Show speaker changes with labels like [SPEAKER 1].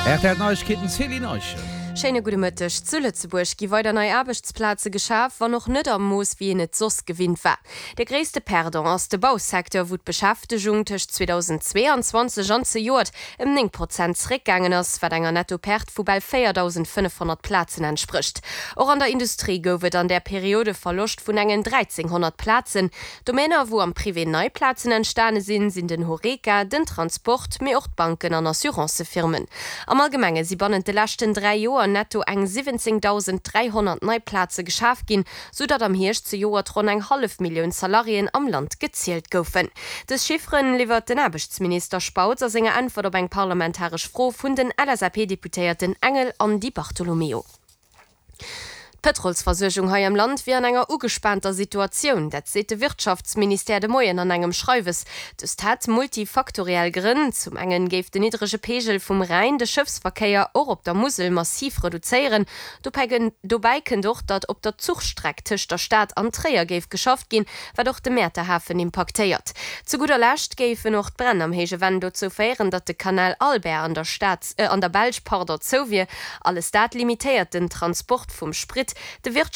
[SPEAKER 1] Rtl Neiegkeeten, Céline Eischen.
[SPEAKER 2] Schéine gudde Mëtteg. Zu Lëtzebuerg gi weider nei Aarbechtsplaze geschaf, wann och net am Mooss wéi een et soss gewinnt war. De gréisste Perdant ass de Bausecteur, wou d'Beschäftegung tëscht 2022 an zejoert ëm 9 Prozent zeréckgaangen ass, wat enger Netto-Perte vu bal 4.500 Plazen entsprécht. Och an der Industrie gouf et an där Period e Verloscht vun engen 1.300 Plazen. Domäner, wou am Privé nei Plazen entstane sinn, sinn den Horeca, den Transport, mee och d'Banken an Assurancëfirmen. Am Allgemenge si bannent de leschten 3 Joer netto eng 17.300 nei Plaze geschaf ginn, sou datt am Hierscht zejoert ronn eng hallef Millioun Salariéen am Land gezielt goufen. Dës Chifferen liwwert den Aarbechtsminister Spautz a senger Äntwert op eng parlamentaresch Fro vun den LSAP-Deputéierten Engel an Di Bartolomeo. D'Pëtrolsversuergung hei am Land wier an enger ugespaanter Situatioun. Dat seet de Wirtschaftsministère de Moien an engem Schreiwes. Dëst hätt multifaktoriell Grënn. Zum engen géif den niddrege Peegel vum Rhäin de Schëffsverkéier och op der Musel massiv reduzéieren. Dobäi kënnt och, datt op der Zuchstreck tëscht der Stad an Tréier géif geschafft ginn, wat och de Mäerter Hafen impaktéiert. Zu gudder Lescht géifen och d'Bränn am Héije Venn dozou féieren, datt de Canal Albert an der Stad, an der Belsch, pardon, zou wier. Alles dat limitéiert den Transport vum Sprit. De Wirtschafts.